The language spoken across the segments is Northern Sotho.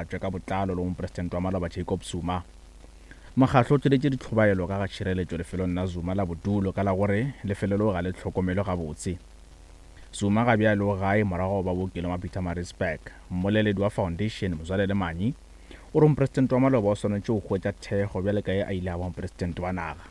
phethagatšwe ka botlalo le go Mopresidente wa maloba Jacob Zuma. Mokgahlo o tšweletše ditlhobaelo ka ga tšhireletšo lefelong la Zuma la bodulo ka la gore lefelo leo ga le hlokomelwe gabotse. Zuma ga bjale o gae morago ga go ba bookelong wa Pietermaritzburg. Mmoleledi wa Foundation, Mzwalele Manyi, o re mopresidente wa maloba o swanetše go hwetša thekgo bjale ka ge a ile a ba mopresidente wa naga.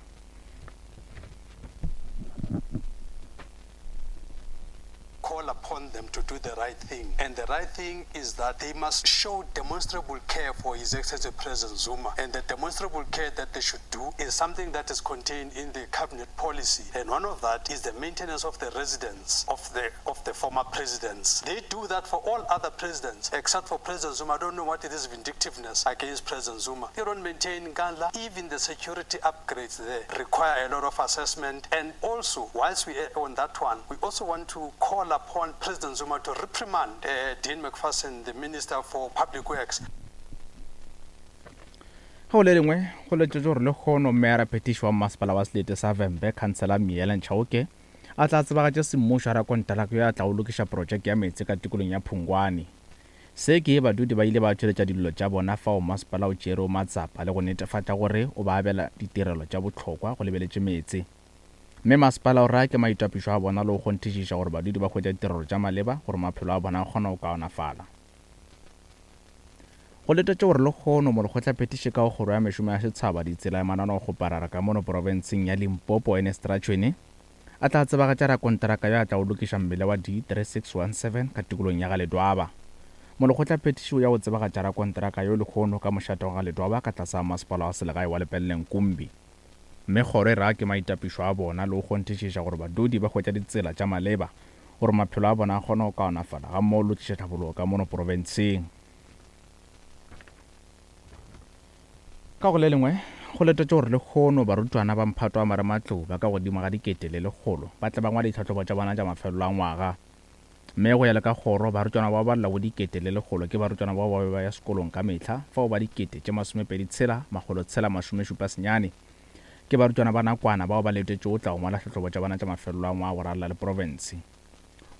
Call upon them to do the right thing and the right thing is that they must show demonstrable care for His Excellency President Zuma and the demonstrable care that they should do is something that is contained in the cabinet policy and one of that is the maintenance of the residence of the of the former presidents. They do that for all other presidents except for President Zuma. I don't know what it is vindictiveness against President Zuma. They don't maintain Nkandla. Even the security upgrades there require a lot of assessment and also whilst we are on that one we also want to call upon President Zuma to reprimand uh, Dean McPherson, the Minister for Public Works. Ge go le lengwe, go letšetšwe gore lehono Meyara Phetiši wa Mmasepala wa Selete sa Vhembe, Khansela Miela Nchauke, a tla tsebagatša semmušo rakonteraka yo a tlago lokiša protšeke ya meetse ka tikolong ya Phungwane. Se ke badudi ba ile ba tšweletša dillo tša bona fao masepala o tšerego matsapa le go netefatša gore o ba abela ditirelo tša bohlokwa go lebeletše meetse. Mme masepala o raya ke maitapišo a bona le go kgonthišiša gore badudi ba hwetša ditirelo tša maleba gore maphelo a bona a kgone go kaonafala. Go letetšwe gore lehono Molekgotlaphethiši ka go Kgoro ya Mešomo ya Setshaba, Ditsela le Mananeo-kgoparara ka mono profenseng ya Limpopo Ernest Ratšhwene a tla tsebagatša rakonteraka yo a tlago lokiša mmila wa D3617 ka tikolong ya Galedwaba. Molekgotlaphethiši o ya go tsebagatša rakonteraka yo lehono ka mošate wa Galedwaba ka tlase ga masepala wa selegae wa Lepelle-Nkumbi. Mme kgoro e ra ke maitapišo a bona le go kgonthišiša gore badudi ba hwetša ditsela tša maleba gore maphelo a bona a kgone go kaonafala gammogo le go tliša tlhabologo ka mono profenseng. Ka go le lengwe, go letetšwe gore lehono barutwana ba mphato wa marematlou ba ka godimo ga 1100 ba tle ba ngwale ditlhahlobo tša bona tša mafelelo a ngwaga. Mme go ya le ka kgoro, barutwana bao ba llago 1100 ke barutwana bao ba be ba ya sekolong ka mehla, fao ba 26 679 ke barutwana ba nakwana bao ba letetšego go tla go ngwala tlhahlobo tša bona tša mafelelo a ngwaga go ralala le profense.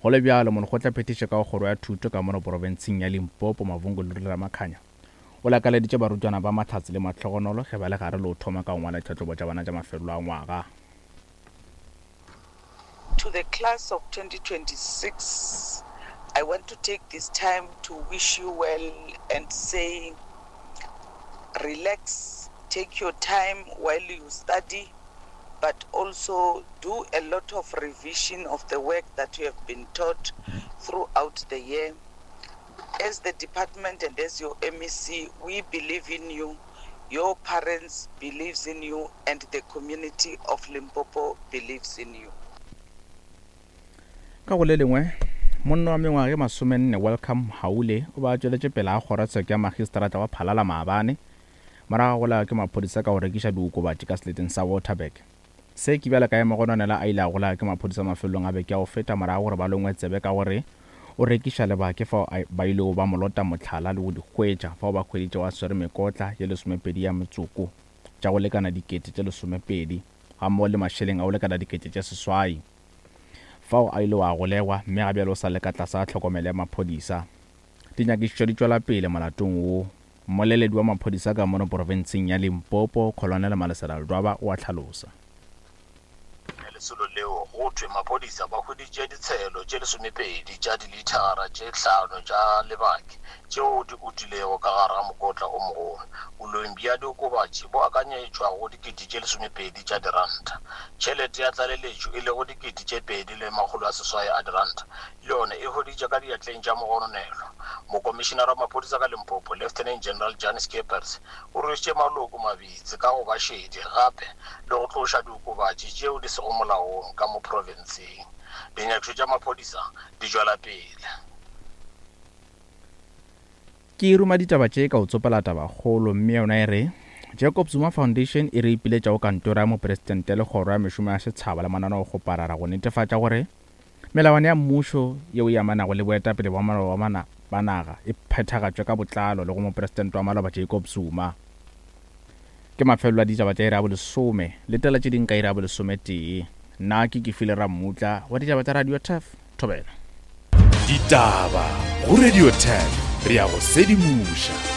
Go le bjalo, Molekgotlaphethiši ka go Kgoro ya Thuto ka mono profenseng ya Limpopo, Mavhungu Luri Ramakhanya, o lakaleditše barutwana ba mahlatse le mahlogonolo ge ba le gare le go thoma ka go ngwala ditlhahlobo tša bona tša mafelelo a ngwaga. To the class of 2026, I want to take this time to wish you well and say relax, take your time while you study, but also do a lot of revision of the work that you have been taught throughout the year. As the department and as your MEC, we believe in you. Your parents believes in you and the community of Limpopo believes in you. Ka go le lengwe, monna wa mengwaga ye masomenne Welcome Mhaule o be a tšweletše pele ga kgorotsheko ya magistrata wa Phalala maabane morago ga go lawa ke maphodisa ka go rekiša diokobatši ka seleteng sa Waterberg. Se ke bjale ka ge Mogononela a ile a golawa ke maphodisa mafelelong a beke ya go feta morago gore ba longwe tsebe ka gore o rekiša lebake fao ba ilego ba mo lota mohlala le go di hwetša fao ba hweditšego a swere mekotla ye lesomepedi ya metsoko tša go lekana 20,000 gammogo le mašeleng a go lekana 6000 fao a ilego a golegwa mme ga bjale o sa le ka tlase ga tlhokomelo ya maphodisa. Dinyakišišo di tšwela pele molatong wo. Mmoleledi wa maphodisa ka mono profenseng ya Limpopo, Colonel Malesela Ledwaba o a hlalosa. Lesolo leo go thwe maphodisa ba hweditše ditshelo tše lesomepedi tša dilithara tše hlano tša lebake tšeo di utilego ka gare ga mokotla o mogolo. Boleng bja diokobatši bo akanyetšwa go dikete tše lesomepedi tša diranta. Tšhelete ya tlaleletšo e lego dikete tše pedi le makgolo a seswai a diranta le yona e hweditše ka diatleng tša mogononelwa. Mokomišinara wa maphodisa ka Limpopo, Lieutenant General Jan Scheepers, o rwešitše maloko mabitsi ka go ba šedi gape le go tloša diokobatši tšeo di sego molaong ka mo profenseng. Dinyakišo tša maphodisa di tšwela pele. Ke ruma ditaba tše ka go tsopela tabakgolo mme yona e re, Jacob Zuma Foundation e re ipiletša go Kantoro ya Mopresidente le Kgoro ya Mešomo ya Setšhaba le Mananeokgoparara go netefatša gore Melawana ya mmušo yeo e amanago le boetapele bwa maloba ba naga e phethagatšwe ka botlalo le go Mopresidente wa maloba Jacob Zuma. Ke mafelelo a ditaba tša iri ya bolesome. Letela tše ding ka iri ya bolesometee. Nna ke Kefile Rammutla wa ditaba tša Radio Turf. Thobela. Ditaba go Radio Turf re ya go sedimoša.